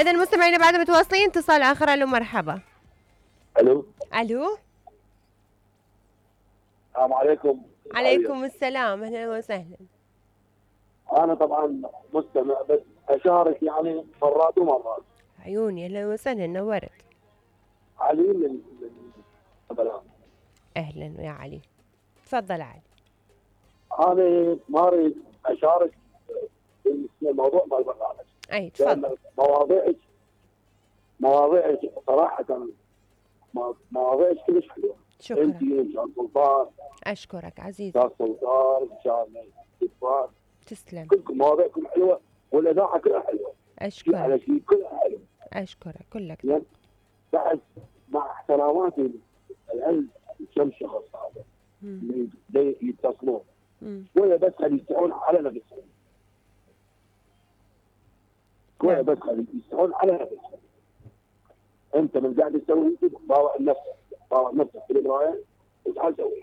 اذا مستمعينا بعد متواصلين، اتصال اخر. الو مرحبا. الو الو السلام عليكم. عليكم السلام، اهلا وسهلا. انا طبعا مستمع بس اشارك يعني مرات ومرات. عيوني، اهلا وسهلا، نورت. علي من بلان. اهلا يا علي، تفضل علي. انا ما اريد اشارك في الموضوع مال البرنامج. اي تفضل. مواضيعك صراحه مواضيعك كلش حلوه. شكرا. انت وشان سلطان. اشكرك عزيزي. شان سلطان شان سلطان. تسلم. كلكم مواضيعكم حلوه والاذاعه كلها حلوه. اشكرك. على شيء كلها حلو. اشكرك كلك. يعني بعد مع احتراماتي العلم كم شخص هذا اللي يتصلون شويه بس يستحون على نفسهم. شويه بس يستحون على نفسهم. انت من قاعد تسوي باوع نفسك في المرايه وتعال سوي.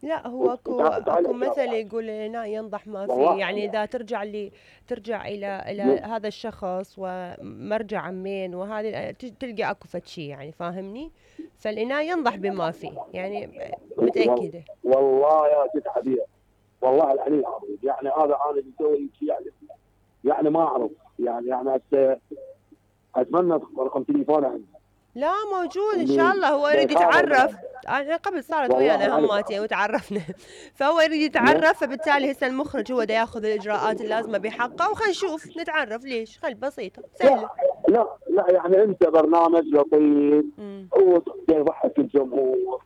لا هو اكو مثل يقول لا ينضح ما فيه، يعني اذا ترجع الى هذا الشخص ومرجع عمين وهذه تلقى اكو فد شيء، يعني فاهمني؟ فالإناء ينضح بما فيه، يعني متاكده. والله يا ست حبيبه، والله العلي العظيم، يعني هذا انا بسوي شيء يعني ما اعرف، يعني هسه اتمنى رقم تليفونه عندي. لا موجود ان شاء الله. هو يريد يتعرف. انا قبل صارت ويانا هماتين وتعرفنا فهو يريد يتعرف، فبالتالي هسه المخرج هو دا ياخذ الاجراءات اللازمه بحقه، وخلينا نشوف نتعرف. ليش؟ خل بسيطه سهله. لا يعني انت برنامج لطيف ويضحك الجمهور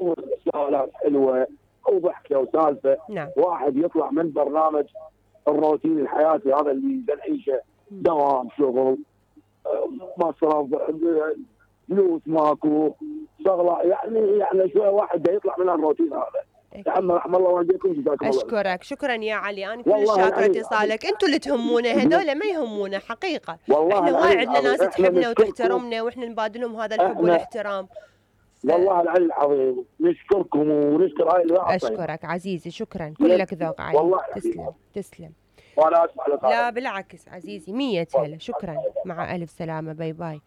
وسؤالات حلوه وضحكه وسالفه. نعم. واحد يطلع من برنامج الروتين الحياتي هذا اللي بنعيشه، دوام شغل مصرف فلوس ماكو شغله، يعني شويه واحد يطلع من الروتين هذا. يا عم رحم الله والديكم، جزاكم الله. اشكرك، شكرا يا علي، انا كل شاكره اتصالك. انتوا اللي تهمونا، هذول ما يهمونا حقيقه. احنا وايد عندنا ناس تحبنا وتحترمنا، واحنا نبادلهم هذا الحب والاحترام. والله العلي العظيم نشكركم ونشكر هاي الوقت. اشكرك عزيزي، شكرا، كلك ذوق علي. والله تسلم. وانا اسف. لا بالعكس عزيزي، 100 هلا. شكرا، مع الف سلامه، باي باي.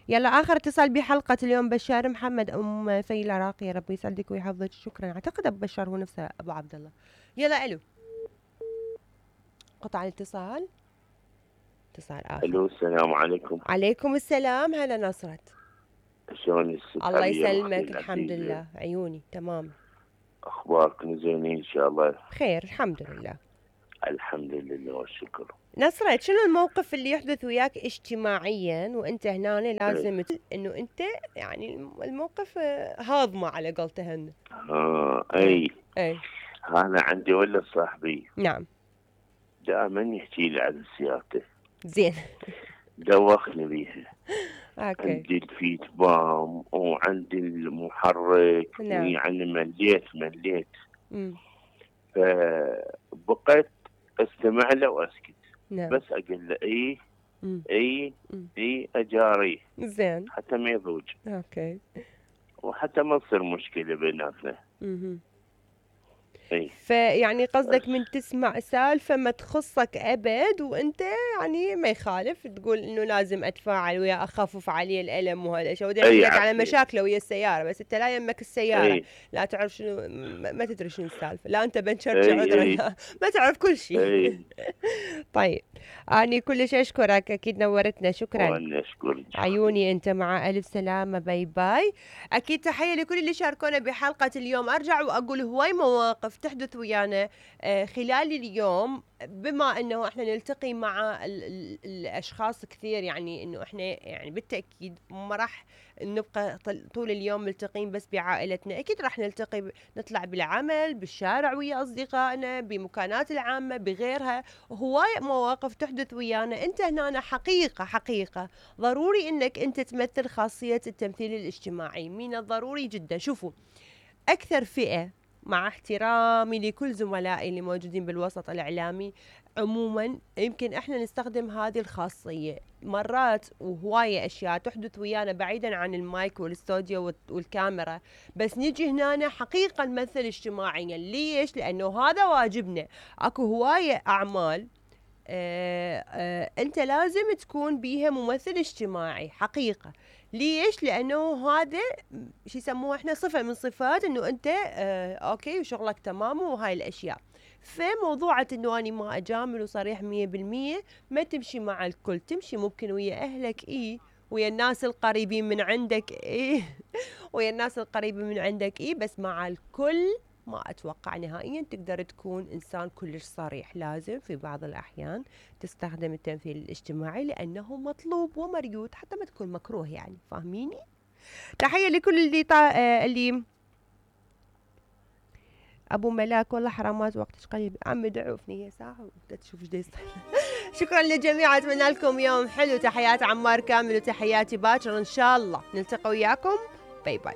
يلا اخر اتصال بحلقه اليوم بشار محمد ام في العراقي، ربي يسعدك ويحفظك. شكرا. اعتقد ابو بشار هو نفسه ابو عبد الله. يلا الو، قطع الاتصال. اتصال اخر. الو السلام عليكم. عليكم السلام، هلا نصرت. شلونك الست؟ الله يسلمك، الحمد لله، عيوني تمام. اخباركم زينين ان شاء الله؟ خير الحمد لله. الحمد لله والشكر. نصرت، شنو الموقف اللي يحدث وياك اجتماعيا وانت هنا لازم انه انت يعني الموقف هاضمه على قولتهن؟ اي هذا عندي ولد صاحبي. نعم. دائما يحكي لي عن سيارته. زين. دوخني بيها. اوكي. عندي الفيت بام وعندي المحرك. نعم. يعني مليت. فبقيت استمع له واسكت. نعم. بس اقول له اي اجاري. زين. حتى ما يضوج. اوكي. وحتى ما تصير مشكله بيناتنا. فيعني قصدك من تسمع سالفه ما تخصك ابد وانت يعني ما يخالف تقول انه لازم اتفاعل ويا اخفف عليه الالم وهذا الشيء، ودي احكي لك على مشاكله ويا السياره، بس انت لا يمك السياره. لا تعرف شنو، ما تدري شنو السالفه، لا انت بنشرجع عذرا، ما تعرف كل شيء. طيب اني كلش اشكرك، اكيد نورتنا. شكرا. وانا اشكرك. عيوني انت، مع الف سلامه، باي باي. اكيد تحيه لكل اللي شاركونا بحلقه اليوم. ارجع واقول هواي مواقف تحدث ويانا خلال اليوم، بما انه احنا نلتقي مع الاشخاص كثير، يعني انه احنا يعني بالتاكيد ما راح نبقى طول اليوم ملتقين بس بعائلتنا، اكيد راح نلتقي نطلع بالعمل، بالشارع ويا اصدقائنا، بمكانات العامه، بغيرها. هواي مواقف تحدث ويانا. انت هنا حقيقه ضروري انك انت تمثل خاصيه التمثيل الاجتماعي، من الضروري جدا. شوفوا، اكثر فئه، مع احترامي لكل زملائي اللي موجودين بالوسط الإعلامي عموما، يمكن احنا نستخدم هذه الخاصية مرات، وهواية أشياء تحدث ويانا بعيدا عن المايك والاستوديو والكاميرا، بس نجي هنا حقيقة نمثل اجتماعيا. ليش؟ لأنه هذا واجبنا. اكو هواية أعمال انت لازم تكون بيها ممثل اجتماعي حقيقة. ليش؟ لانه هذا شو يسموه احنا صفة من صفات انه انت اوكي وشغلك تمام وهاي الاشياء. فموضوعة انه اني ما اجامل وصريح 100% ما تمشي مع الكل، تمشي ممكن ويا اهلك ويا الناس القريبين من عندك ويا الناس القريبة من عندك بس مع الكل ما أتوقع نهائيا تقدر تكون إنسان كلش صريح. لازم في بعض الأحيان تستخدم التمثيل الاجتماعي لأنه مطلوب ومريود حتى ما تكون مكروه، يعني فاهميني؟ تحية لكل اللي أبو ملاك والله حرامات وقتك قليل، عمي دعوفني هي ساعة وتشوف ايش يصير. شكرا للجميع، أتمنى لكم يوم حلو. تحيات عمار كامل وتحياتي باكر إن شاء الله نلتقي وياكم. باي باي.